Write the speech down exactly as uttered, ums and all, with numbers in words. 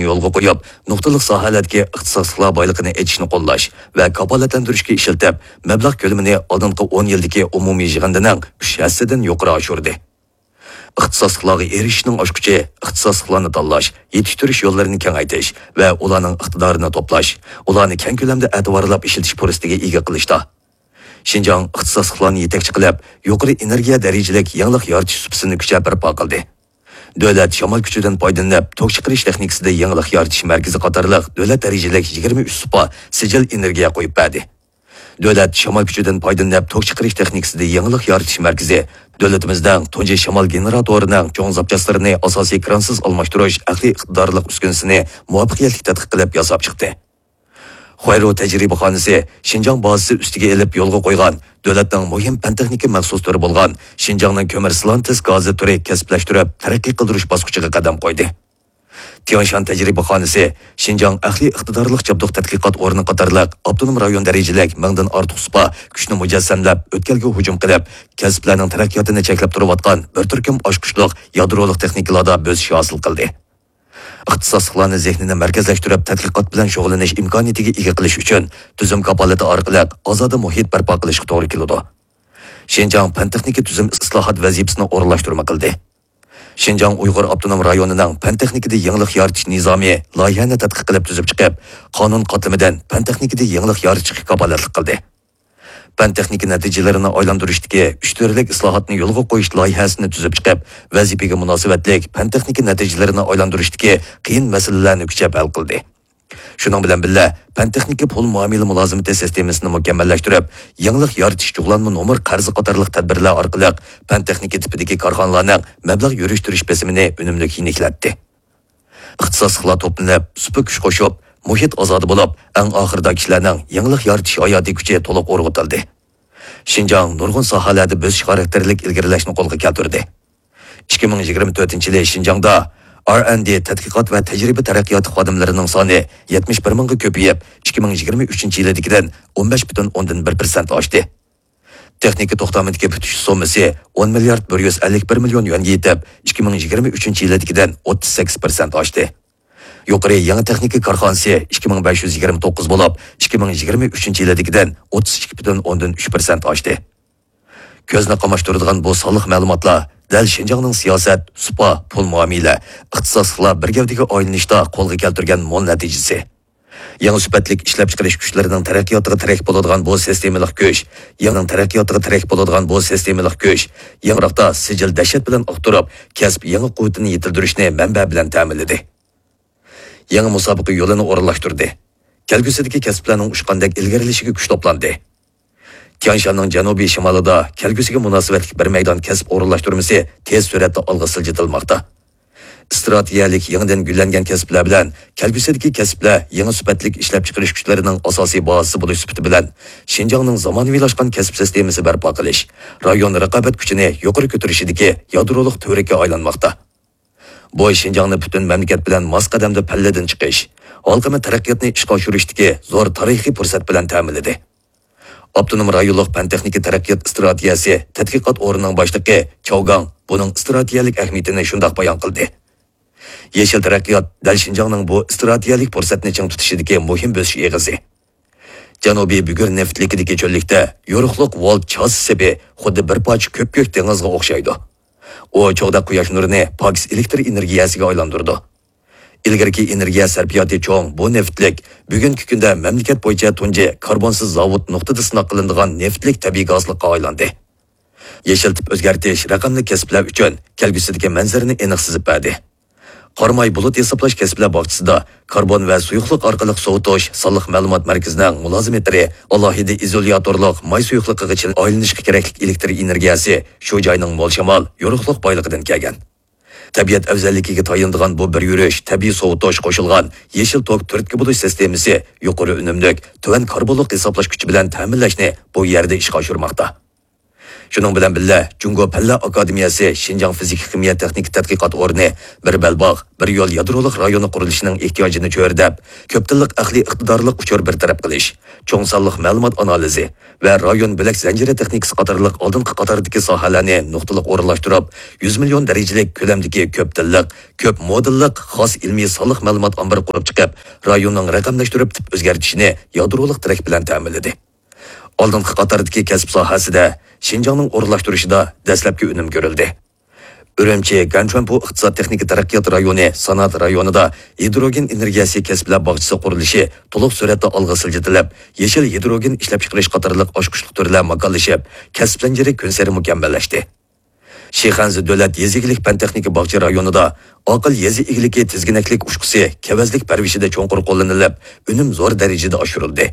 يولغا قويۇپ، نۇقتىلىق ساھەلەردىكى ئىختىساسلىقلار بايلىقىنى ئېچىشنى قوللاش ۋە كاپالەتلەندۈرۈشكە ئىشلىتىپ، مەبلەغ كۆلىمىنى ئالدىنقى ئون يىلدىكى ئومۇمىي يىغىندىنىڭ ئۈچ ھەسسىدىن يۇقىرى ئاشۇردى. ئىختىساسلىقلارغا ئېرىشىشنىڭ ئاچقۇچى ئىختىساسلىقلارنى تاللاش، يېتىشتۈرۈش يوللىرىنى كېڭەيتىش ۋە ئۇلارنىڭ ئىقتىدارىنى توپلاش، ئۇلارنى كەڭ كۆلەمدە ئەتىۋارلاپ ئىشلىتىش پۇرسىتىگە ئىگە قىلىشتا. شىنجاڭ ئىختىساسلىقلارنى يېتەكچى قىلىپ، يۇقىرى ئېنېرگىيە دەرىجىلىك يېڭىلىق يارىتىش سۇپىسىنى كۈچەپ بەرپا قىلدى. دۆلەت شامال كۈچىدىن پايدىلىنىپ، توك چىقىرىش تېخنىكىسىدا يېڭىلىق يارىتىش مەركىزى قاتارلىق دۆلەت دەرىجىلىك يىگىرمە ئۈچ سۇپا سىجىل ئېنېرگىيە قويۇپ بەردى. دۆلەت شامال كۈچىدىن پايدىلىنىپ، توك چىقىرىش تېخنىكىسىدا يېڭىلىق يارىتىش مەركىزى دۆلىتىمىزنىڭ تۇنجى شامال گېنېراتورىنىڭ چوڭ زاپچاسلىرىنى ئاساسىي كرانسىز ئالماشتۇرۇش ئەقلىي ئىقتىدارلىق ئۈسكۈنىسىنى مۇۋەپپەقىيەتلىك تەتقىق قىلىپ ياساپ چىقتى. خۇەيرۇ تەجرىبىخانىسى شىنجاڭ بازىسى ئۈستىگە ئېلىپ يولغا قويغان دۆلەتنىڭ مۇھىم پەن-تېخنىكا مەخسۇس تۈرى بولغان شىنجاڭنىڭ كۆمۈر سىلانتېس گازى تۈرى كەسىپلەشتۈرۈپ تەرەققىي قىلدۇرۇش باسقۇچىغا قەدەم قويدى. تيەنشان تەجرىبىخانىسى شىنجاڭ ئەقلىي ئىقتىدارلىق جابدۇق تەتقىقات ئورنى قاتارلىق ئاپتونوم رايون دەرىجىلىك مىڭدىن ئارتۇق سۇپا كۈچنى مۇجەسسەملەپ، ئۆتكەلگە ھۇجۇم قىلىپ، كەسىپلەرنىڭ تەرەققىياتىنى چەكلەپ تۇرۇۋاتقان بىر تۈركۈم ئاچقۇچلۇق يادرولۇق تېخنىكىلاردا بۆسۈش ھاسىل قىلدى. ئىختىساسلىقلارنى زېھنىنى مەركەزلەشتۈرۈپ، تەتقىقات بىلەن شۇغۇللىنىش ئىمكانىيىتىگە ئىگە قىلىش ئۈچۈن، تۈزۈم كاپالىتى ئارقىلىق ئازادە مۇھىت بەرپا قىلىشقا توغرا كېلىدۇ. شىنجاڭ پەن-تېخنىكا تۈزۈم ئىسلاھات ۋەزىپىسىنى ئورۇنلاشتۇرما قىلدى. شىنجاڭ ئۇيغۇر ئاپتونوم رايونىنىڭ پەن-تېخنىكىدا يېڭىلىق يارىتىش نىزامى لايىھەنى تەتقىق قىلىپ تۈزۈپ چىقىپ، قانۇن قاتلىمىدىن پەن-تېخنىكىدا يېڭىلىق يارىتىشقا كاپالەتلىك قىلدى. پەن-تېخنىكا نەتىجىلىرىنى ئايلاندۇرۇشتىكى ئۈچ تۈرلۈك ئىسلاھاتنى يولغا قويۇش لايىھەسىنى تۈزۈپ چىقىپ، ۋەزىپىگە مۇناسىۋەتلىك پەن-تېخنىكا نەتىجىلىرىنى ئايلاندۇرۇشتىكى قىيىن مەسىلىلەرنى كۈچەپ ھەل قىلدى. شۇنىڭ بىلەن بىللە، پەن-تېخنىكا پۇل مۇئامىلە مۇلازىمىتى سىستېمىسىنى مۇكەممەللەشتۈرۈپ، يېڭىلىق يارىتىش جۇغلانما نومۇر قەرزى قاتارلىق تەدبىرلەر ئارقىلىق پەن-تېخنىكا تىپىدىكى كارخانىلارنىڭ مەبلەغ يۈرۈشتۈرۈش بېسىمىنى ئۈنۈملۈك يېنىكلەتتى. ئىختىساسلىقلار توپلىنىپ، سۇپا كۈچ قوشۇپ، مۇھىت ئازادە بولۇپ، ئەڭ ئاخىرىدا كىشىلەرنىڭ يېڭىلىق يارىتىش ھاياتىي كۈچى تولۇق ئۇرغۇتۇلدى. شىنجاڭ نۇرغۇن ساھەلەردە بۆسۈش خاراكتېرلىك ئىلگىرىلەشنى قولغا كەلتۈردى. ئىككى مىڭ يىگىرمە تۆتىنچى يىلى شىنجاڭدا ئار ئەند دى تەتقىقات ۋە تەجرىبە تەرەققىياتى خادىملىرىنىڭ سانى يەتمىش بىر مىڭغا كۆپىيىپ، ئىككى مىڭ يىگىرمە ئۈچىنچى يىلىدىكىدىن ئون بەش پۈتۈن ئوندىن بىر پىرسەنت ئاشتى. تېخنىكا توختامىدىكى پۈتۈش سوممىسى ئون مىليارد بىر يۈز ئەللىك بىر مىليون يۈەنگە يېتىپ، ئىككى مىڭ يىگىرمە ئۈچىنچى يىلىدىكىدىن ئوتتۇز سەككىز پىرسەنت ئاشتى. يۇقىرى يېڭى تېخنىكا كارخانىسى ئىككى مىڭ بەش يۈز يىگىرمە توققۇز بولۇپ، ئىككى مىڭ يىگىرمە ئۈچىنچى يىلىدىكىدىن ئوتتۇز ئىككى پۈتۈن ئوندىن ئۈچ پىرسەنت ئاشتى. كۆزنى قاماشتۇرىدىغان بۇ سانلىق مەلۇماتلار دەل شىنجاڭنىڭ سىياسەت، سۇپا، پۇل مۇئامىلە، ئىختىساسلىقلار بىر گەۋدىگە ئايلىنىشتا قولغا كەلتۈرگەن مول نەتىجىسى. يېڭى سۈپەتلىك ئىشلەپچىقىرىش كۈچلىرىنىڭ تەرەققىياتىغا تىرەك بولىدىغان بۇ سىستېمىلىق كۈچ، يېڭىنىڭ تەرەققىياتىغا تىرەك بولىدىغان بۇ سىستېمىلىق كۈچ، يېڭىراقتا سىجىل دەھشەت بىلەن ئۇقتۇرۇپ، كەسىپ يېڭى قۇۋۋىتىنى يېتىلدۈرۈشنى مەنبە بىلەن تەمىنلىدى. يېڭى مۇسابىقە يولىنى ئورۇنلاشتۇردى. كەلگۈسىدىكى كەسىپلەرنىڭ ئۇچقاندەك ئىلگىرىلىشىگە كۈچ توپلاندى. تيەنشاننىڭ جەنۇبىي شىمالىدا كەلگۈسىگە مۇناسىۋەتلىك بىر مەيدان كەسىپ ئورۇنلاشتۇرمىسى تېز سۈرئەتتە ئالغا سىلجىتىلماقتا. ئىستراتېگىيەلىك يېڭىدىن گۈللەنگەن كەسىپلەر بىلەن كەلگۈسىدىكى كەسىپلەر يېڭى سۈپەتلىك ئىشلەپچىقىرىش كۈچلىرىنىڭ ئاساسىي بازىسى بولۇش سۈپىتى بىلەن، شىنجاڭنىڭ زامانىۋىلاشقان كەسىپ سىستېمىسى بەرپا قىلىش، رايون رىقابەت كۈچىنى يۇقىرى كۆتۈرۈشىدىكى يادرولۇق تۈۋرۈككە ئايلانماقتا. بۇ شىنجاڭنى پۈتۈن مەملىكەت بىلەن ماس قەدەمدە پەللىدىن چىقىش، ھالقىما تەرەققىياتنى ئىشقا ئاشۇرۇشتىكى زور تارىخىي پۇرسەت بىلەن تەمىنلىدى. ئاپتونوم رايونلۇق پەن-تېخنىكا تەرەققىيات ئىستراتېگىيەسى تەتقىقات ئورنىنىڭ باشلىقى چاۋ گاڭ بۇنىڭ ئىستراتېگىيەلىك ئەھمىيىتىنى شۇنداق بايان قىلدى: يېشىل تەرەققىيات دەل شىنجاڭنىڭ بۇ ئىستراتېگىيەلىك پۇرسەتنى چىڭ تۇتۇشىدىكى مۇھىم بۆسۈش ئېغىزى. جەنۇبىي بۈگۈر نېفىتلىكىدىكى چۆللۈكتە يورۇقلۇق ۋولت چاسا سېپى خۇددى بىر پارچە كۆپكۆك دېڭىزغا ئوخشايدۇ. ئۇ چوغداق قۇياش نۇرىنى پاكىز ئېلېكتر ئېنېرگىيەسىگە ئايلاندۇرىدۇ. ئىلگىرىكى ئېنېرگىيە سەرپىياتى چوڭ بۇ نېفىتلىك بۈگۈنكى كۈندە مەملىكەت بويىچە تۇنجى كاربونسىز زاۋۇت نۇقتىدا سىناق قىلىنىدىغان نېفىتلىك تەبىئىي گازلىققا ئايلاندى. يېشىل تىپ ئۆزگەرتىش رەقەملىك كەسىپلەر ئۈچۈن كەلگۈسىدىكى مەنزىرىنى ئېنىق سىزىپ بەردى. قاراماي بۇلۇت ھېسابلاش كەسىپلەر باغچىسىدا كاربون ۋە سۇيۇقلۇق ئارقىلىق سوۋۇتۇش سانلىق مەلۇمات مەركىزىنىڭ مۇلازىمېتىرى ئالاھىدە ئىزولياتورلۇق ماي سۇيۇقلۇقىغا چىلىم ئايلىنىشقا كېرەكلىك ئېلېكتر ئېنېرگىيەسى شۇ جاينىڭ مول شامال، يورۇقلۇق بايلىقىدىن كەلگەن. تەبىئەت ئەۋزەللىكىگە تايىنىدىغان بۇ بىر يۈرۈش تەبىئىي سوۋۇتۇش قوشۇلغان يېشىل توك تۈرتكە بولۇش سىستېمىسى يۇقىرى ئۈنۈملۈك، تۆۋەن كاربونلۇق ھېسابلاش كۈچى بىلەن تەمىنلەشنى بۇ يەردە ئىشقا ئاشۇرماقتا. شۇنىڭ بىلەن بىللە، جۇڭگو پەنلەر ئاكادېمىيەسى شىنجاڭ فىزىك خىمىيە تېخنىكا تەتقىقات ئورنى بىر بەلباغ، بىر يول يادرولۇق رايونى قۇرۇلۇشىنىڭ ئېھتىياجىنى چۆرىدەپ، كۆپ تىللىق ئەقلىي ئىقتىدارلىق ئۇچۇر بىر تەرەپ قىلىش، چوڭ سانلىق مەلۇمات ئانالىزى ۋە رايون بۆلەك زەنجىرى تېخنىكىسى قاتارلىق ئالدىنقى قاتاردىكى ساھەلەرنى نۇقتىلىق ئورۇنلاشتۇرۇپ، يۈز مىليون دەرىجىلىك كۆلەمدىكى كۆپ تىللىق، كۆپ مودېللىق خاس ئىلمىي سانلىق مەلۇمات ئامبىرى قۇرۇپ چىقىپ، رايوننىڭ رەقەملەشتۈرۈپ تىپ ئۆزگەرتىشىنى يادرولۇق تىرەك بىلەن تەمىنلىدى. ئالدىنقى قاتاردىكى كەسىپ ساھەسىدە شىنجاڭنىڭ ئورۇنلاشتۇرۇشىدا دەسلەپكى ئۈنۈم كۆرۈلدى. ئۈرۈمچى گەنچۈەنپۇ ئىقتىساد تېخنىكا تەرەققىيات رايونى سانائەت رايونىدا ھىدروگېن ئېنېرگىيەسى كەسىپلەر باغچىسى قۇرۇلۇشى تولۇق سۈرئەتتە ئالغا سىلجىتىلىپ، يېشىل ھىدروگېن ئىشلەپچىقىرىش قاتارلىق ئاچقۇچلۇق تۈرلەر ماكانلىشىپ، كەسىپ زەنجىرى كۈنسېرى مۇكەممەللەشتى. شىخەنزە دۆلەت يېزا ئىگىلىك پەن تېخنىكا باغچە رايونىدا ئاقىل يېزا ئىگىلىكى تىزگىنەكلىك ئۇچقۇسى كېۋەزلىك پەرۋىشىدە چوڭقۇر قوللىنىلىپ، ئۈنۈم زور دەرىجىدە ئاشۇرۇلدى.